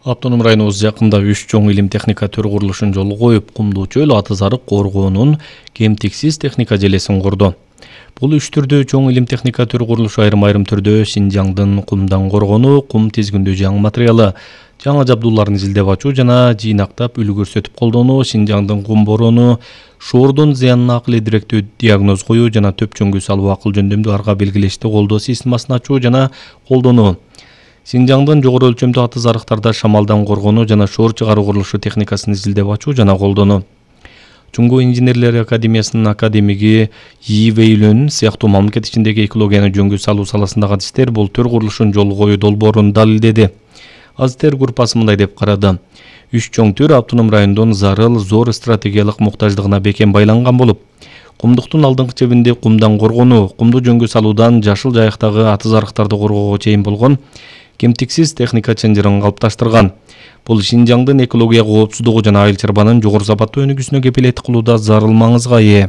Автоном районубуз жакында 3 чоң илим техника төр курулушун жолго коюп, Кумдуу чөл аты зарык коргоонун кемтиксиз техника желесин курду. Бул 3 түрдүү чоң илим техника төр курулушу айрым түрдө Синжаңдын кумдан коргонуу, кум тизгиндүү жаңы материалы, жаңы жабдууларын изилдеп ачуу жана жыйнактап үлгү көрсөтүп колдонуу, Синжаңдын кум бороону, шоордун зыянына акылы директүү диагноз коюу жана төпчөңгү салуу акыл жөндөмдүү арга белгилешти колдоо системасын ачуу жана колдонуу. Синжаңдын жогору өлчөмдүү аты зарыктарда шамалдан коргонуу жана шоор чыгаруу курулушу техникасын изилдеп ачуу жана колдонуу. Чуңгу инженерлер академиясынын академиги И. Вейлөн сыяктуу мамлекет ичиндеги экологияны жөнгө салуу саласындагы адистер бул төр курулушун жолго коюу долбоорун далилдеди. Азиттер группасы мындай деп карады. 3 чоң төр автоном райондун зарыл зор стратегиялык муктаждыгына бекем байланган болуп, кумдуктун алдыңкы чебинде кумдан коргонуу, кумду жөнгө салуудан жашыл жайыктагы аты зарыктарды коргоого чейин болгон кемтиксиз техника чынжырын калыпташтырган. Бул Синжаңдын экология коопсуздугу жана айыл чарбанын жогору сапаттуу өнүгүүсүнө кепилеттик кылууда зарыл маңызга ээ.